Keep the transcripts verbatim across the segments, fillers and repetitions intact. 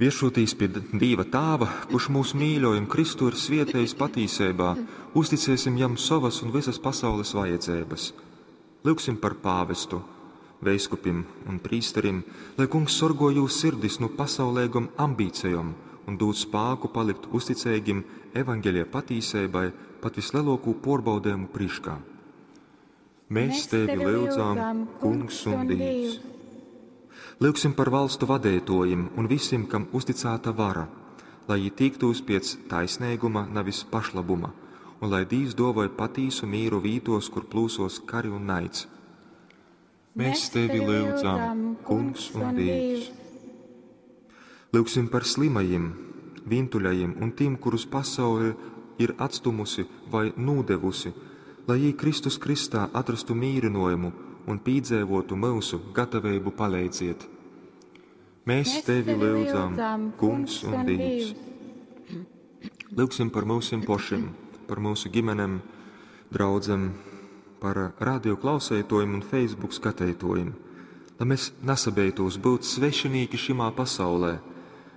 Vieršūtīs pi Dīva Tāva, kurš mūs mīļoj un Kristu ir svietejis patīseibā, uzticēsim jam sovas un visas pasaules vajadzības. Lyugsim par pāvestu, veiskupim un prīsterim, lai Kungs sorgo jūs sirdis nu pasauleigom ambīcejom un dūd spāku palikt uzticeigim evaņģelija patīseibai pat visleluokū puorbaudejumu prīškā. Mēs tevi lyudzam, Kungs un Dīvs. Lyugsim par valstu vadeituojim un visim, kam uzticāta vara, lai jī tīktūs piec taisneiguma, navis pašlabuma, un lai Dīvs duovoj patīsu mīru vītuos, kur plūsuos kari un naids. Mēs tevi lyudzam, Kungs un Dīvs. Lyugsim par slimajim, vīntuļajim un tim, kurus pasaule ir atstumusi vai nūdevusi, lai jī Kristus krystā atrastu mīrynuojumu un pīdzeivuotu myusu gataveibu paleidziet. Mēs tevi lyudzam, Kungs un Dīvs. Lyugsim par myusim pošim, par myusu ģimenem, draudzem, par radio klauseituojim un Facebook skateituojim, lai mēs nasabeitūs būt svešinīki šimā pasaulē,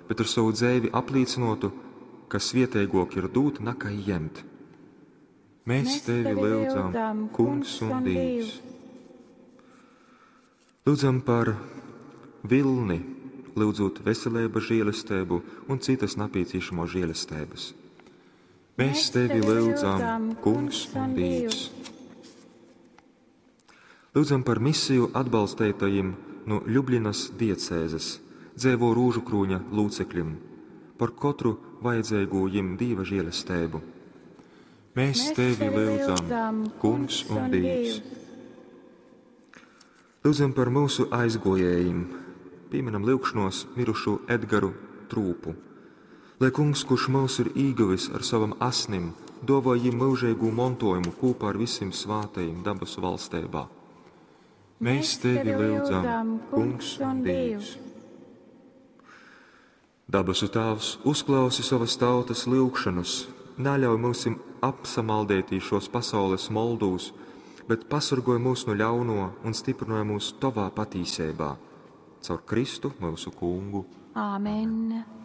bet ar sovu dzeivi aplīcynuotu, ka svieteiguok ir dūt nakai jemt. Mēs tevi lyudzam, Kungs un Dīvs. Lūdzam par vilni, lūdzot veselības žēlestību un citas nepieciešamo žēlestības. Mēs tevi lūdzam, Kungs un Dīvs. Lūdzam par misiju atbalstētajiem no Ljubljanas diecēzes, dzēvo rūžu krūņa locekļiem, par katru vajadzīgo jim Dieva žēlestību. Mēs tevi lūdzam, Kungs un Dīvs. Lūdzam par mūsu aizgojējiem, pieminam lūgšanos mirušo Edgaru Trūpu. Lai Kungs, kurš mūs ir īguvis ar savam asnim, dovoj jim mūžīgu montojumu kopā ar visiem svātajiem dabasu valstībā. Mēs tevi lūdzam, Kungs un Dīvs. Dabasu Tāvs, uzklausi savas tautas lūgšanas, neļauj mūsim apsamaldētī šos pasaules moldūs, bet pasargoj mūs no ļauno un stiprinoj mūs tavā patīsībā. Caur Kristu mūsu kungu. Āmen.